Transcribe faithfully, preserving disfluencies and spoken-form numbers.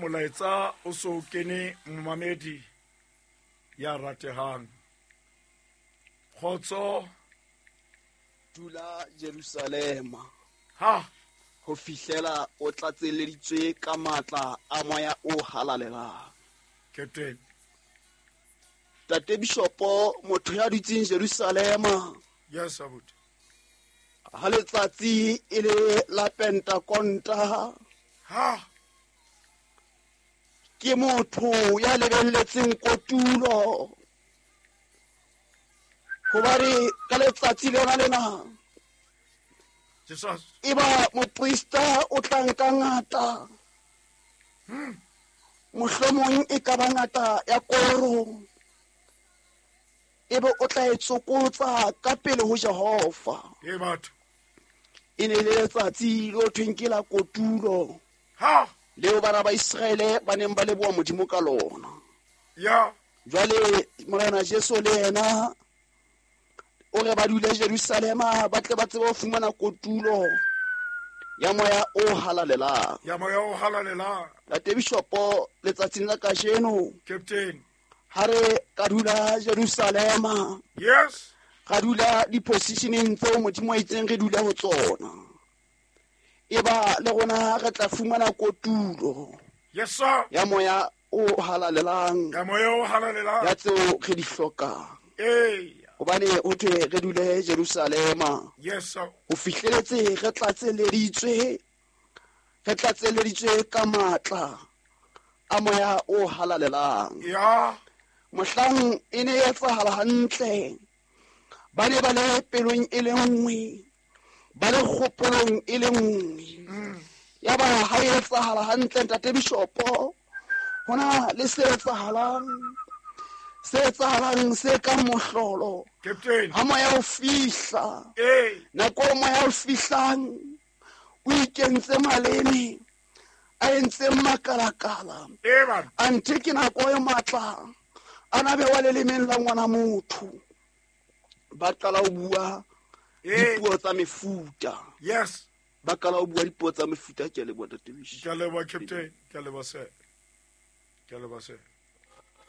Molaetsa o so kene momamedi ya ratehang. Kgotso. Dula Jerusalema. Ha ho fihlela o tlatselleditswe ka matla a moya o halalelang. Captain. Tate Bishopo, motho ya dutseng Jerusalema. Yes, abuti. Ha letsatsi e le la Pentakonta. Ha ke motho ya lebelletseng kotulo. Hobane ka letsatsi lena lena Jesus eba moprista o tla nka ngata. Hmm. Mohlomong e ka ba ngata ya koro. Ebe o tla e tsokotsa ka pele ho Jehova. E batho. E ne le letsatsi lo thweng ke la kotulo. Ha leo bana ba Israele ba neng ba leboha Modimo ka lona. Ya. Jwale Morena Jesu le yena o re ba dule Jerusalema ba tle ba tsebe ho fumana kotulo ya moya o halalelang. Ya moya o halalelang. Tate Bishopo, letsatsing la kajeno Captain ha re ka dula Jerusalema. Yes. Ra dula di-positioneng tseo Modimo a itseng re dula ho tsona. Eba le rona re tla fumana kotulo. Yes sir. Ya moya o halalelang. Ya moya o halalelang. Ya tseo re di hlokang. Eh. Hobane ho thwe re dule Jerusalema. Yes sir. Ho fihleletse re tlatselleditswe, re tlatselleditswe ka matla a moya o halalelang. Ya. Mohlang e ne e etsahala hantle. Ba ne ba le pelong e le nngwe, ba le kgopolong e le nngwe. Ya ba ha e etsahala hantle Ntate Bishopo, hona le se etsahalang, se etsahalang se ka mohlolo. Captain. Ha moya o fihla. Eh. Nako moya o fihlang, o ikentse maleme, a entse makalakala. Eh man. Anthe ke nako e matla, a na bewa lelemeng la ngwana motho. Ba qala ho bua dipuo tsa mefuta. Yes. Ba qala ho bua dipuo tsa mefuta. Ke a leboha Ntate Bishopo. Ke a leboha Captain. Ke a leboha sir. Ke a leboha sir.